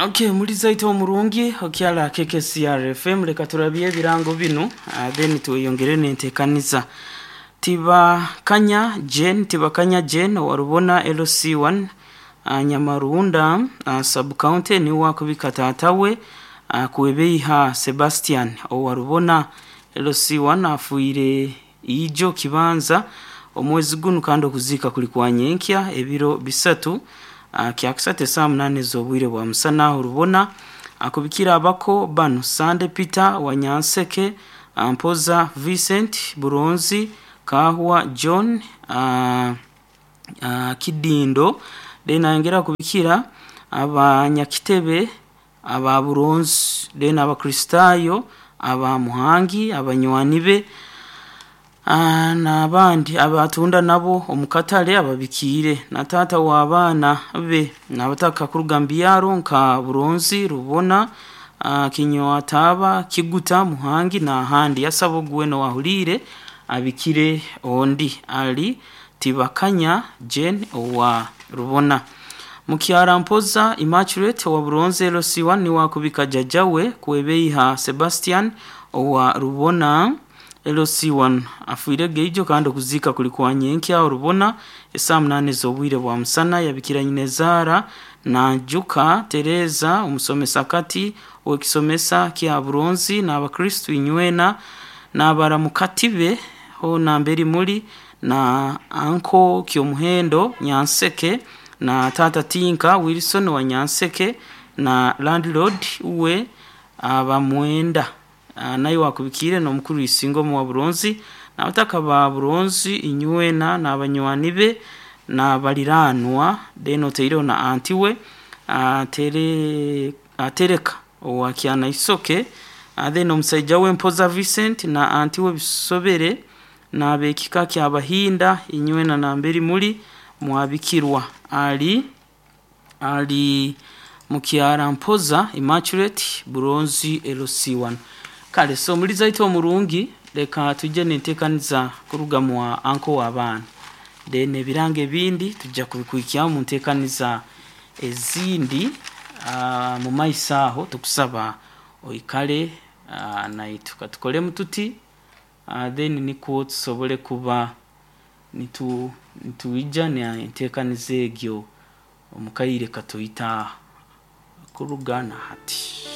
Okay, mulizaito omurungi okyala KKCR FM, leka turabye ebirango binu, then tweyongere n'enteekaniza. Tibakanya Jane, Tibakanya Jane owarubona LC1, Nyamarunda sub county, niwe akubika taata we, Kwebeiha Sebastian owarubona LC1, afiire ijo kibanza omwezi gunu, kandi okuziika kuli kwa nyenkya ebiro 3, kyakusatu esaaha 8 ez'obwire bwa musana aho Rubona. Akubikira abako banu: Sande Peter wa Nyanseke, Mpoza Vincent Buronzi, Kahwa John, Kidindo. Then ayongera kubikira abanyakitebe aba Buronzi, then Abakristaayo aba Muhangi, abanywani be n'abandi abatunda nabo omu katale ababikiire, na taata w'abaana be, n'abataka kuruga mu byaro nka Buronzi, Rubona, Kinywataaba, Kiguta, Muhangi n'ahandi. Yasaba ogu weena owaahuliire abikire ondi ali Tibakanya Jane owa Rubona. Mukyara Mpoza Immaculate owa Buronzi LC1 niwe akubika jjajja we Kwebeiha Sebastian owa Rubona LC1, afiire geijo kandi okuziika kuli kwa nyenkya aho Rubona esaaha 8 ez'obwire bwa musana. Yabikira nyina Nanjuka Tereza, omusomesa kati ow'ekisomesa kya Buronzi, n'abakristu inywena, n'abaramukati be hoona mberi muri, na anko Kyomuhendo Nyanseke, na taata Tinka Wilson wa Nyanseke, na landlord we abamwenda, naye wakubikiire n'omukuru Isingomo wa Buronzi, n'abataka ba Buronzi inywena, n'abanywani be n'abaliraanwa, then otaireho na anti we atereka owa Kyanaisoke, then omusaija we Mpoza Vincent na anti we Bisobere, n'ab'ekika ky'Abahinda inywena namberi muri mwabikirwa. Ali Mukyara Mpoza Immaculate, Buronzi LC1. Kale so mulizaito omurungi, leka tujje n'enteekaniza kuruga mwa anko w'abaana, then ebirango ebindi tujja kubikuhikyaho mu nteekaniza ezindi mu maiso aho. Tukusaba oikale naitwe katukolemu tuti, then nikwo tusobole kuba nitwija n'enteekaniza egyo omu kaire katoito kuruga na hati.